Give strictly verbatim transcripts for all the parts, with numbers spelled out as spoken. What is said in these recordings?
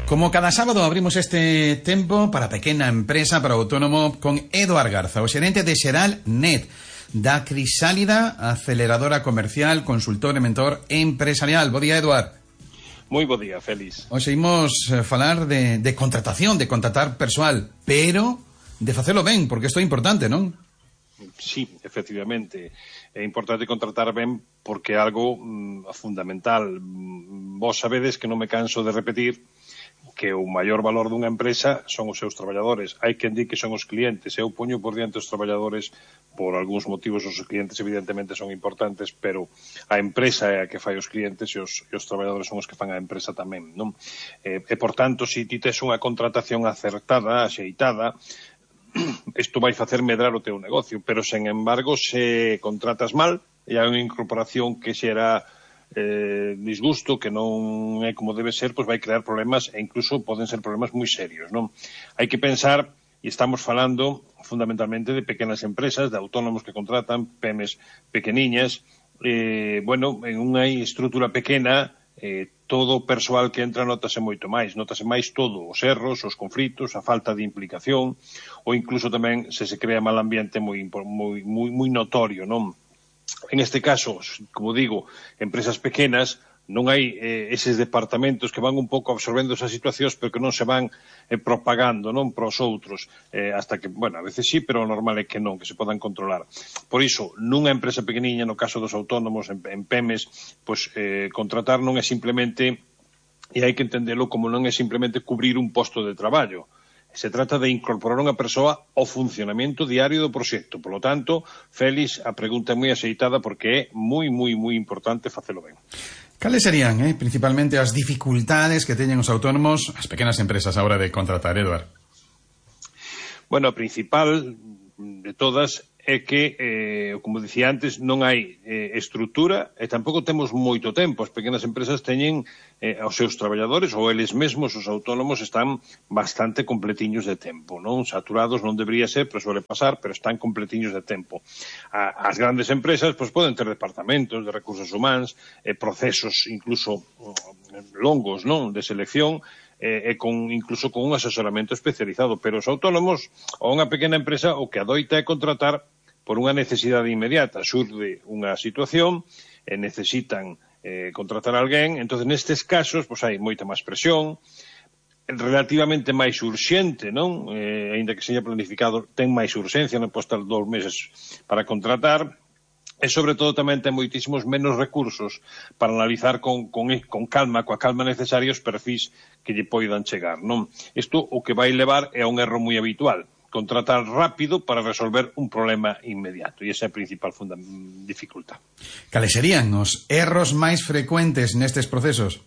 Como cada sábado abrimos este tempo para pequena empresa, para autónomo, con Eduard Garza, o xerente de Xeralnet, da Crisálida, aceleradora comercial, consultor e mentor empresarial. Bo día, Eduard. Moi bo día, Félix. Hoxe imos falar de, de contratación, de contratar persoal, pero de facelo ben, porque isto é importante, non? Sí, efectivamente. É importante contratar ben porque é algo mm, fundamental. Vos sabedes que non me canso de repetir que o maior valor dunha empresa son os seus traballadores. Hai quen di que son os clientes. Eu poño por diante os traballadores por algúns motivos. Os clientes evidentemente son importantes, pero a empresa é a que fai os clientes e os, e os traballadores son os que fan a empresa tamén, non? E, e por tanto, se ti tes unha contratación acertada, axeitada, isto vai facer medrar o teu negocio, pero, sen embargo, se contratas mal e hai unha incorporación que xera eh, disgusto, que non é como debe ser, pois vai crear problemas e incluso poden ser problemas moi serios, non? Hai que pensar, e estamos falando fundamentalmente de pequenas empresas, de autónomos que contratan, pemes pequeniñas, eh, bueno, en unha estrutura pequena, eh, todo o persoal que entra notase moito máis, notase máis todo, os erros, os conflitos, a falta de implicación, ou incluso tamén se se crea mal ambiente moi, moi, moi, moi notorio, non? En este caso, como digo, empresas pequenas, non hai eh, eses departamentos que van un pouco absorbendo esas situacións, pero que non se van eh, propagando, non, para os outros, eh, hasta que, bueno, a veces sí, pero o normal é que non, que se podan controlar. Por iso, nunha empresa pequeniña, no caso dos autónomos, en, en pemes, pois eh, contratar non é simplemente, e hai que entendelo como non é simplemente cubrir un posto de traballo. Se trata de incorporar unha persoa ao funcionamento diario do proxecto. Por lo tanto, Félix, a pregunta é moi axeitada porque é moi, moi, moi importante facelo ben. Cales serían, eh, principalmente, as dificultades que teñen os autónomos, as pequenas empresas, a hora de contratar, Eduard? Bueno, a principal de todas é que, eh, como dicía antes, non hai eh, estrutura e tampouco temos moito tempo. As pequenas empresas teñen eh, aos seus traballadores, ou eles mesmos, os autónomos, están bastante completiños de tempo, non? Saturados non debería ser, pero suele pasar, pero están completiños de tempo. A, as grandes empresas, pois, poden ter departamentos de recursos humanos, eh, procesos incluso longos, non? De selección, e con, incluso con un asesoramento especializado, pero os autónomos ou unha pequena empresa o que adoita é contratar por unha necesidade inmediata. Xurde unha situación e necesitan eh, contratar a alguén, entón nestes casos pois hai moita máis presión, relativamente máis urxente, non? Eh, ainda que seña planificado, ten máis urxencia, non pode estar dous meses para contratar. E, sobre todo, tamén ten moitísimos menos recursos para analizar con, con, con calma, coa calma necesaria, os perfis que lle poidan chegar, non? Isto o que vai levar é a un erro moi habitual, contratar rápido para resolver un problema inmediato, e esa é a principal dificultad. Cales serían os erros máis frecuentes nestes procesos?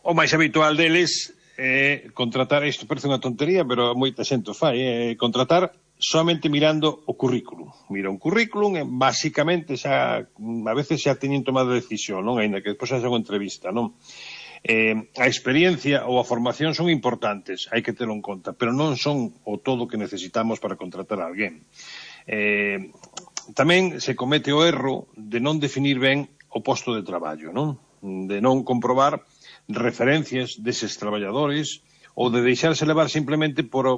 O máis habitual deles é contratar, isto parece unha tontería, pero moita xente o fai, é contratar somente mirando o currículum. Mira un currículum e, basicamente, xa, a veces xa teñen tomado decisión, non? Ainda que despois haxa unha entrevista, non? Eh, a experiencia ou a formación son importantes, hai que telo en conta, pero non son o todo que necesitamos para contratar a alguén. Eh, tamén se comete o erro de non definir ben o posto de traballo, non? De non comprobar referencias deses traballadores ou de deixarse levar simplemente por o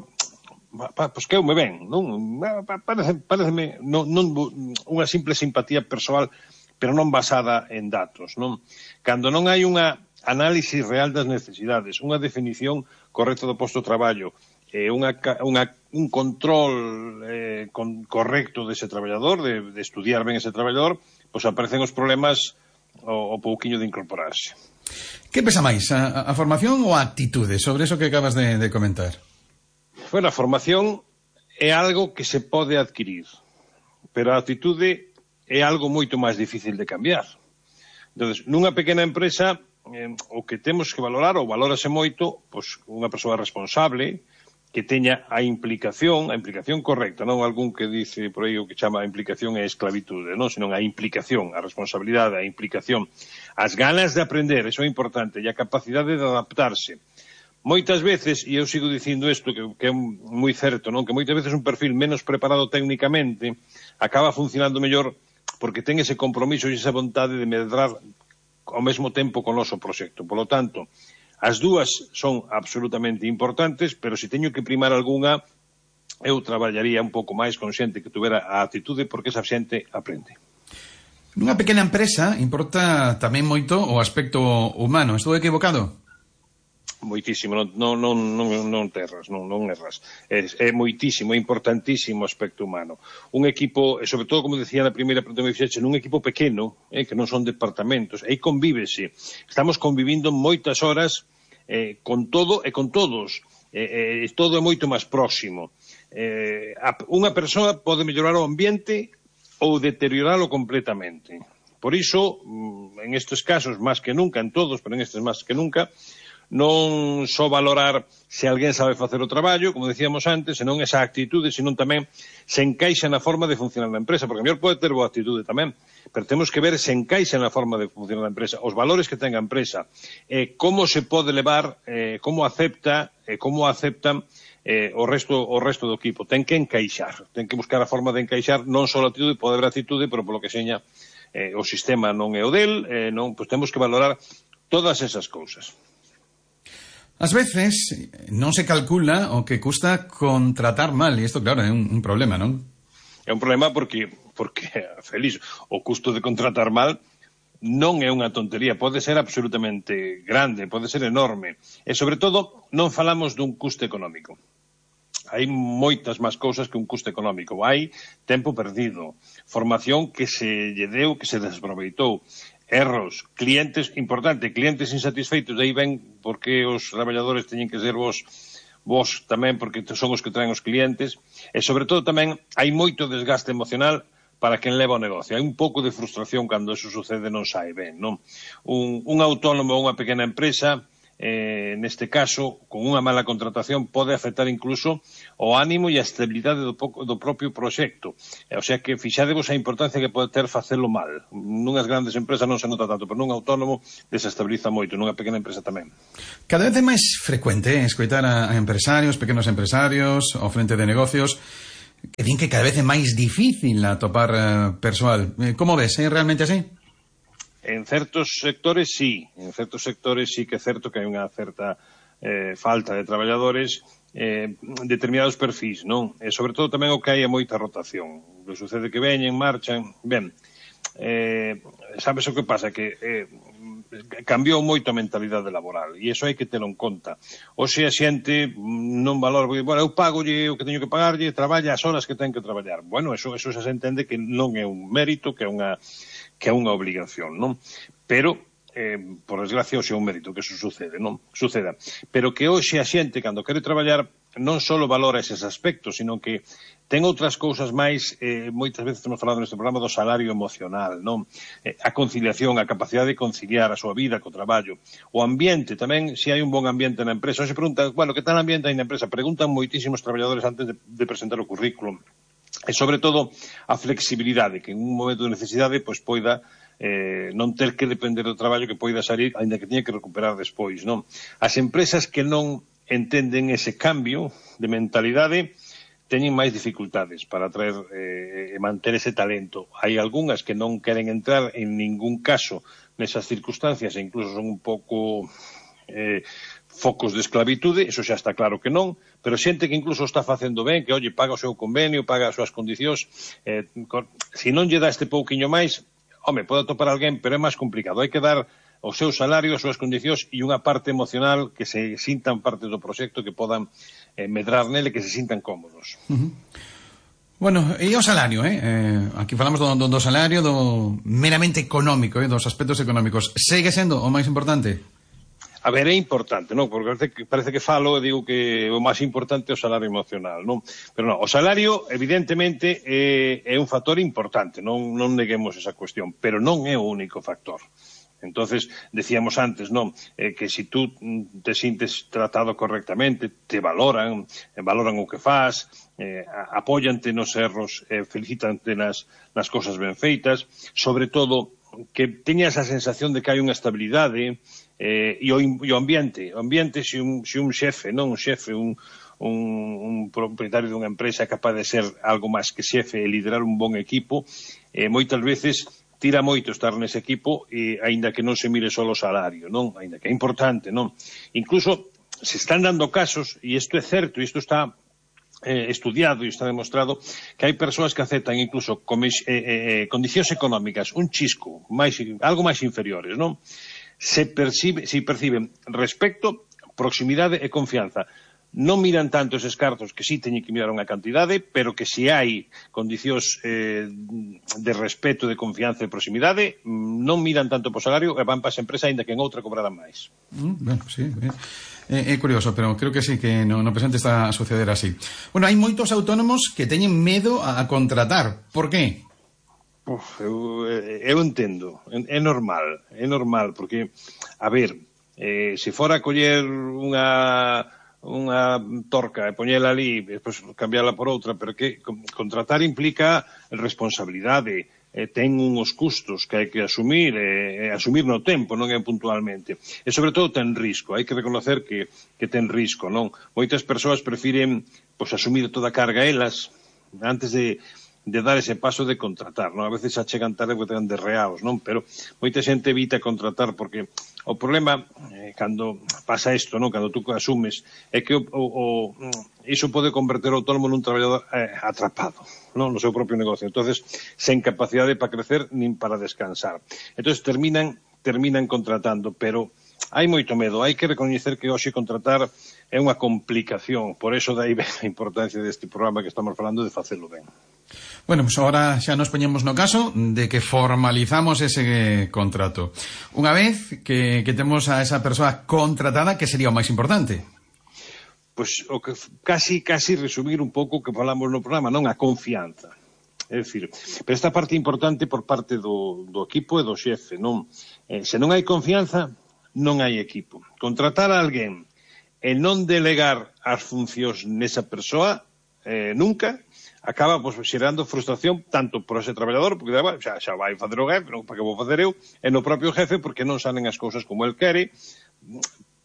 pois que eu me ven, non? Parece, pareceme non, non, unha simple simpatía persoal, pero non basada en datos, non? Cando non hai unha análise real das necesidades, unha definición correcta do posto de traballo, eh, unha, unha, un control eh, con, correcto dese traballador, de, de estudiar ben ese traballador, pois aparecen os problemas o, o pouquiño de incorporarse. Que pesa máis, a, a formación ou a actitude sobre eso que acabas de, de comentar? Bueno, a formación é algo que se pode adquirir, pero a actitude é algo moito máis difícil de cambiar. Entón, nunha pequena empresa, eh, o que temos que valorar, ou valórase moito, pois unha persoa responsable, que teña a implicación, a implicación correcta, non algún que dice por aí o que chama a implicación é esclavitude, non? Senón a implicación, a responsabilidade, a implicación, as ganas de aprender, eso é importante, e a capacidade de adaptarse. Moitas veces, e eu sigo dicindo isto, que, que é moi certo, non? Que moitas veces un perfil menos preparado técnicamente acaba funcionando mellor porque ten ese compromiso e esa vontade de medrar ao mesmo tempo con o noso proxecto. Por lo tanto, As dúas son absolutamente importantes, pero se teño que primar algunha, eu traballaría un pouco máis con xente que tuvera a actitude, porque esa xente aprende. Nunha pequena empresa importa tamén moito o aspecto humano. Estou equivocado? Moitísimo, non, non, non, non, non terras, non, non erras. É, é moitísimo, é importantísimo o aspecto humano. Un equipo, e sobre todo, como decía na primeira pregunta que me fixeche, nun equipo pequeno, eh, que non son departamentos, aí convívese. Estamos convivindo moitas horas eh, con todo e con todos. Eh, eh, todo é moito máis próximo. Eh, a, unha persoa pode mellorar o ambiente ou deterioralo completamente. Por iso, en estes casos, máis que nunca, en todos, pero en estes máis que nunca, non só valorar se alguén sabe facer o traballo, como decíamos antes, senón esa actitude, senón tamén se encaixa na forma de funcionar na empresa, porque a mellor pode ter boa actitude tamén, pero temos que ver se encaixa na forma de funcionar na empresa, os valores que ten a empresa, eh, como se pode levar, eh, como acepta, eh, como aceptan eh, o resto o resto do equipo. Ten que encaixar, ten que buscar a forma de encaixar, non só a actitude, pode haber actitude, pero polo que seña eh, o sistema non é o del, eh, non, pois temos que valorar todas esas cousas. Ás veces non se calcula o que custa contratar mal, e isto, claro, é un, un problema, non? É un problema porque, porque, feliz, o custo de contratar mal non é unha tontería, pode ser absolutamente grande, pode ser enorme. E, sobre todo, non falamos dun custo económico. Hai moitas máis cousas que un custo económico. Hai tempo perdido, formación que se lle deu, que se desaproveitou, erros, clientes, importante, clientes insatisfeitos, de aí ven porque os traballadores teñen que ser vos, vos tamén, porque son os que traen os clientes, e sobre todo tamén hai moito desgaste emocional para quen leva o negocio. Hai un pouco de frustración cando eso sucede, non sai ben, non? Un, un autónomo ou unha pequena empresa, eh, neste caso, con unha mala contratación, pode afectar incluso o ánimo e a estabilidade do, poco, do propio proxecto. O sea que fixadevos a importancia que pode ter facelo mal. Nunhas grandes empresas non se nota tanto, pero nun autónomo desestabiliza moito, nunha pequena empresa tamén. Cada vez é máis frecuente escoitar a, a empresarios, pequenos empresarios, ao frente de negocios, que din que cada vez é máis difícil atopar uh, persoal. Como ves? É realmente así? En certos sectores, sí. En certos sectores sí que é certo que hai unha certa eh, falta de traballadores, eh, determinados perfis, non? E sobre todo tamén o que hai é moita rotación. O que sucede que veñen, marchan. Ben, eh, sabes o que pasa? Que eh, cambiou moito a mentalidade laboral e iso hai que telo en conta. Oxe a xente non valora, bueno, eu pagolle o que teño que pagarlle, traballa as horas que ten que traballar. Bueno, eso, eso xa se entende que non é un mérito, que é unha que é unha obligación, non? Pero, eh, por desgracia, hoxe é un mérito que eso sucede, non? Suceda. Pero que hoxe a xente, cando quere traballar, non só valora eses aspectos, sino que ten outras cousas máis, eh, moitas veces temos falado neste programa do salario emocional, non? Eh, a conciliación, a capacidade de conciliar a súa vida co traballo. O ambiente tamén, se hai un bon ambiente na empresa. Hoxe preguntan, bueno, que tal ambiente hai na empresa? Preguntan moitísimos traballadores antes de, de presentar o currículum. E, sobre todo, a flexibilidade, que en un momento de necesidade pois poida eh, non ter que depender do traballo, que poida salir, ainda que teña que recuperar despois, non? As empresas que non entenden ese cambio de mentalidade teñen máis dificultades para traer e eh, manter ese talento. Hai algunhas que non queren entrar en ningún caso nesas circunstancias e incluso son un pouco eh, focos de esclavitude, eso xa está claro que non, pero xente que incluso está facendo ben, que, oye, paga o seu convenio, paga as súas condicións, eh, se non lle dá este pouquiño máis, home, pode atopar alguén, pero é máis complicado. Hai que dar o seu salario, as súas condicións e unha parte emocional que se sintan parte do proxecto, que podan eh, medrar nele, que se sintan cómodos. Uh-huh. Bueno, e o salario, eh? eh aquí falamos do, do, do salario, do meramente económico, eh? Dos aspectos económicos. Segue sendo o máis importante? A ver, é importante, non? Porque parece que, parece que falo e digo que o máis importante é o salario emocional, non? Pero non, o salario, evidentemente, é, é un factor importante, non, non neguemos esa cuestión, pero non é o único factor. Entonces, decíamos antes, non? Eh, que se si tú te sintes tratado correctamente, te valoran, eh, valoran o que faz, eh, apóyante nos erros, eh, felicitante nas, nas cosas ben feitas, sobre todo, que teña esa sensación de que hai unha estabilidade, eh, e, o, e o ambiente, o ambiente se un, se un xefe, non un xefe, un, un, un propietario dunha empresa é capaz de ser algo máis que xefe e liderar un bon equipo, eh, moitas veces tira moito estar nese equipo, e aínda que non se mire só o salario, non? Aínda que é importante, non? Incluso se están dando casos, e isto é certo, e isto está eh, estudiado e está demostrado, que hai persoas que aceptan incluso comis, eh, eh, condicións económicas, un chisco, máis, algo máis inferiores, non? Se percibe, se perciben respecto, proximidade e confianza. Non miran tanto eses cartos, que sí teñen que mirar unha cantidade, pero que se hai condicións eh, de respeto, de confianza e proximidade, non miran tanto po salario e van para esa empresa, ainda que en outra cobrarán máis. Mm, bueno, sí, é, é curioso, pero creo que sí, que no, no presente está a suceder así. Bueno, hai moitos autónomos que teñen medo a, a contratar. Por qué? Uf, eu, eu entendo, é normal, é normal, porque, a ver, eh, se fora a coller unha unha torca e poñela ali e despois cambiala por outra, pero que contratar implica responsabilidade, eh, ten uns custos que hai que asumir, e eh, asumir no tempo, non é puntualmente, e sobre todo ten risco, hai que reconocer que, que ten risco, non? Moitas persoas prefiren pois, asumir toda a carga elas antes de de dar ese paso de contratar, non? A veces xa chegan tarde porque ten derreados, non? Pero moita xente evita contratar porque o problema, eh, cando pasa isto, non? Cando tú asumes, é que o, o, o, iso pode converter o autónomo nun traballador eh, atrapado, non? No seu propio negocio. Entonces, sen capacidade para crecer nin para descansar. Entonces, terminan, terminan contratando, pero hai moito medo. Hai que recoñecer que hoxe contratar é unha complicación. Por eso dai a importancia deste programa que estamos falando de facelo ben. Bueno, pues ahora xa nos poñemos no caso de que formalizamos ese contrato. Unha vez que, que temos a esa persoa contratada, que sería o máis importante? Pois o que casi, casi resumir un pouco o que falamos no programa, non? A confianza. É dicir, pero esta parte importante por parte do, do equipo e do xefe, non? Eh, se non hai confianza, non hai equipo. Contratar a alguén e non delegar as funcións nesa persoa, eh, nunca, acaba pues, xerando frustración tanto por ese traballador, porque bueno, xa, xa vai fazer o jefe, non para que vou facer eu, e no propio jefe, porque non salen as cousas como el quere,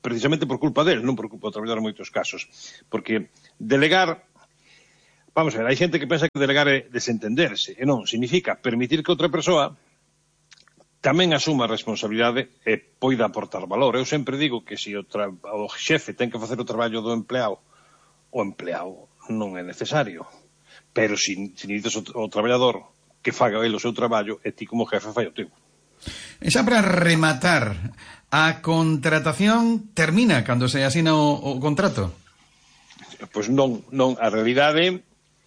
precisamente por culpa del, non por culpa do traballador en moitos casos. Porque delegar, vamos a ver, hai xente que pensa que delegar é desentenderse, e non, significa permitir que outra persoa tamén asuma a responsabilidade e poida aportar valor. Eu sempre digo que se o, tra... o xefe ten que facer o traballo do empleado, o empleado non é necesario. Pero se si, si necesitas o, o traballador que faga ele o seu traballo, e ti como jefe fai o teu. E xa para rematar, a contratación termina cando se asina o, o contrato? Pois non, non, a realidade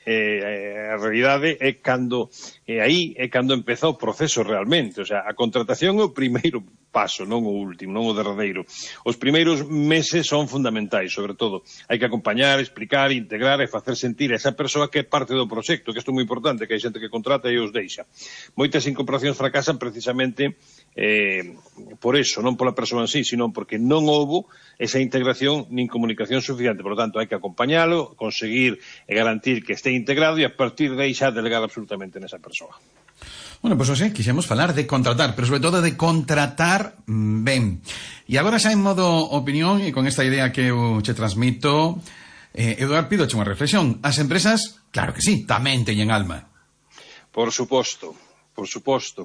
eh, a realidade é cando e aí é cando empeza o proceso realmente, o sea, a contratación é o primeiro paso, non o último, non o derradeiro. Os primeiros meses son fundamentais, sobre todo. Hai que acompañar, explicar, integrar e facer sentir a esa persoa que é parte do proxecto, que isto é moi importante, que hai xente que contrata e os deixa. Moitas incorporacións fracasan precisamente eh, por eso, non pola persoa en sí, sino porque non houbo esa integración nin comunicación suficiente. Por lo tanto, hai que acompañalo, conseguir e garantir que este integrado e a partir de aí xa delegar absolutamente nesa persoa. Bueno, pois pues, hoxe quixemos falar de contratar, pero sobre todo de contratar ben. E agora xa en modo opinión, e con esta idea que eu che transmito, eh, Eduardo, pidoche unha reflexión. As empresas, claro que sí, tamén teñen alma. Por suposto, por suposto.